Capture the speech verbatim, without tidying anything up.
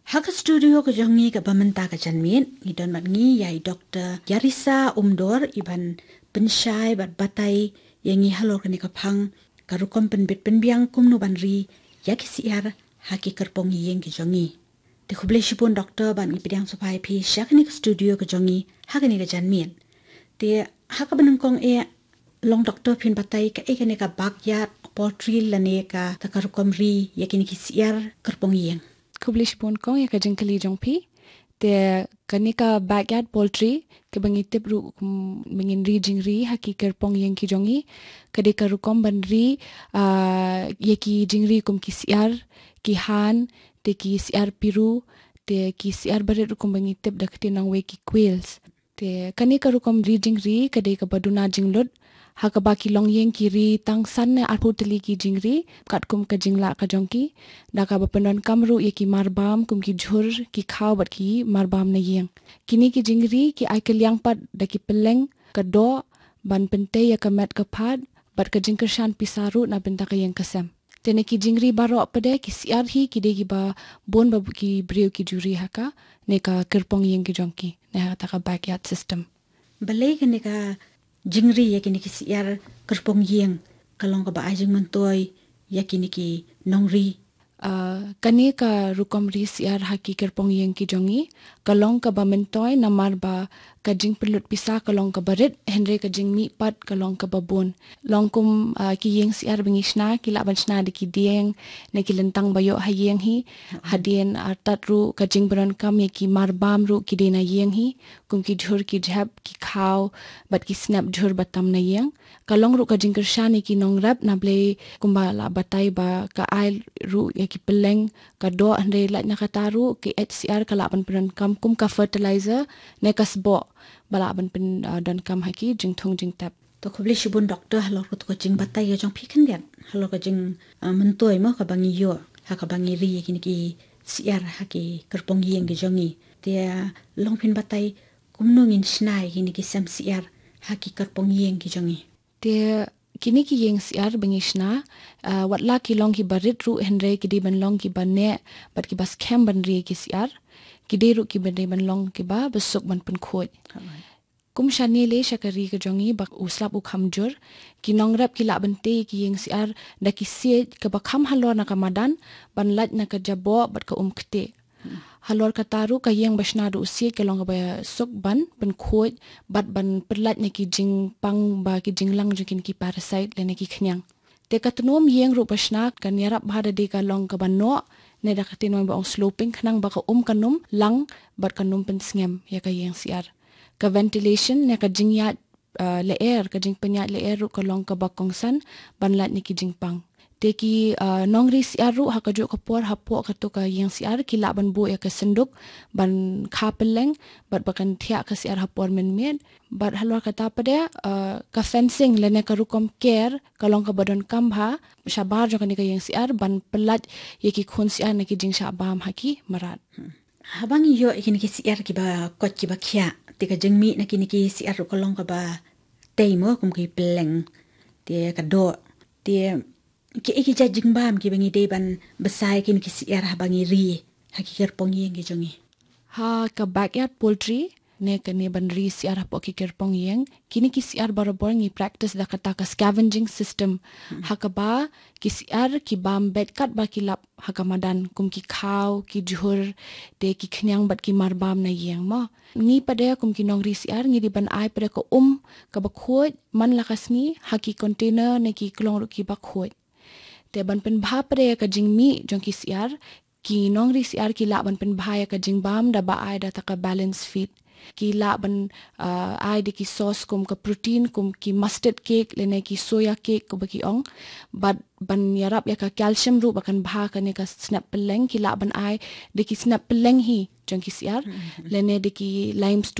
Ha ka studio ka jong ngi kaba mynta ka janmiet, ngi don bad ngi ïa i Doktor Yarisa Umdor, i ban pynshai bad batai ïa ngi halor kane ka phang, ka rukom pynbit pynbiang kumno ban ri ïa ki syiar ha ki kyrpong ïing ki jong ngi. Te khublei shibun Doktor bad ngi pdiang sngewbha ïa phi sha kane ka studio ka jong ngi ha kane ka janmiet. Te ha kaba nyngkong eh, long Doktor phin batai kaei kane ka backyard poultry lane kata ka rukom ri ïa kine ki syiar kyrpong ïing. Khublei shibun kong ïa ka jingkylli jong phi. Te kane ka backyard poultry kaba ngi tip ruh kum ba ngin ri jingri ha ki kyrpong ïing ki jong ngi, ka dei ka rukom ban ri, ah, ïa ki jingri kum ki syiar, ki han, te ki syiar piru, te ki syiar barit ruh kum ba ngi tip da ka ktien nongwei ki quails. Te kane ka rukom ri jingri ka dei kaba duna jinglut, ha kaba ki longïing ki ri tang san ne arphew tylli ki jingri katkum ka jinglah ka jong ki, da kaba pyndonkam ruh ïa ki marbam kum ki jhur, ki khaw bad ki marbam na ïing. Kine ki jingri ki ai kylliang pat da ki pylleng, ka doh, ban pyntei ïa ka met ka phad bad ka jingkyrshan pisa ruh na bynta ka ïing ka sem. Te na ki jingri baroh pat de ki syiar hi ki dei kiba bun ba ki briew ki ju ri ha kane ka kyrpong ïing ki jong ki, ne ha kata ka backyard system. Balei kane ka jingri ïa kine ki syiar kyrpong ïing ka long kaba ai jingmyntoi ïa kine ki nongri? Ah, kane ka rukom ri syiar ha ki kyrpong ïing ki jong ngi ka long kaba myntoi namar ba ka jingpynlut pisa ka long kaba rit, hynrei ka jingmih pat ka long kaba bun. Long kum, ah, ki ïing syiar ba ngi shna, ki lah ban shna da ki dieng ne ki lyntang ba ïoh ha ïing hi. Hadien artat ruh ka jingpyndonkam ïa ki marbam ruh ki dei na ïing hi, kum ki jhur, ki jhep, ki khaw bad ki snep jhur ba tam na ïing. Ka long ruh ka jingkyrshan ïa ki nongrep, na balei kumba la batai ba ka ai ruh ïa ki pylleng, ka doh, hynrei lait na kata ruh ki eit syiar ka lah ban pyndonkam kum ka fertilizer ne ka sboh ba lah ban pyn, ah, donkam ha ki jingthung jingtep. To khublei shibun Doktor halor kata ka jingbatai ka jong phi khyndiat halor ka jing, ah, myntoi mo kaba ngi ïoh ha kaba ngi ri ïa kine ki syiar ha ki kyrpong ïing ki jong ngi. Te, ah, long phin batai kumno ngin shna ïa kine ki sem syiar ha ki kyrpong ïing ki jong ngi. Te kine ki ïing syiar ba ngi shna, ah, wat la ki long kiba rit ruh, hynrei ki dei ban long kiba neh bad kiba skhem ban ri ïa ki syiar. Ki dei ruh kiba dei ban long kiba, ba suk ban pynkhuid. Alright. Kum shane lei sha ka ri ka jong ngi ba u slap u kham jur, ki nongrep ki lah ban tei ïa ki ïing syiar da ki siej kaba kham halor na ka madan, ban lait na ka jaboh bad ka um ktieh. Halor kata ruh ka ïing ba shna da u siej ka long kaba suk ban pynkhuid bad ban pynlait na ki jingpang ba ki jinglang jong kine ki parasite lane ki khñiang. Te ka tnum ïing ruh ba shna kan ïarap bha da dei ka long kaba noh, ne da ka ktien ba ong sloping, khnang ba ka um kan ym lang bad kan ym pynsngem ïa ka ïing syiar. Ka ventilation ne ka jingïaid, ah, lyer, ka jingpynïaid lyer ruh ka long kaba kongsan ban lait na ki jingpang. Te ki, ah, nongri syiar ruh ha kajuh ka por hapoh kato ka ïing syiar ki lah ban buh ïa ka synduk ban kha pylleng bad ba kan thiah ka syiar ha por mynmiet. Bad halor kata pat de, ah, ka fencing lane ka rukom ker ka long kaba donkam bha shabar jong kane ka ïing syiar ban pynlait ïa ki khun syiar na ki jingshah bam ha ki mrad. Haba ngi ïoh ïa kine ki syiar kiba koit kiba khiah, te ka jingmih na kine ki syiar ruh ka long kaba tei mo, kum ki pylleng, te ka doh. Te kiei ki jait jingbam kiba ngi dei ban bsa ïa kine ki syiar haba ngi ri ha ki kyrpong ïing ki jong ngi? Ha ka backyard poultry ne kane ban ri syiar hapoh ki kyrpong ïing, kine ki syiar barabor ngi practice da kata ka scavenging system. Ha kaba ki syiar ki bam beit katba ki lap ha ka madan, kum ki khaw, ki jhur, te ki khñiang bad ki marbam na ïing mo. Ngi pat de kum ki nongri syiar ngi dei ban ai pat de ka um kaba khuid man la ka sngi ha ki container ne ki klong ruh kiba khuid. Te ban pynbha pat de ïa ka jingmih jong ki syiar, ki nongri syiar ki lah ban pynbha ïa ka jingbam da ba ai da ta ka balance feed. Ki lah ban, ah, ai da ki sauce kum ka protein, kum ki mustard cake lane ki soya cake kumba ki ong. Bad ban ïarap ïa ka calcium ruh ba kan bha kane ka snep pylleng, ki lah ban ai da ki snep pylleng hi jong ki syiar lane da ki limestone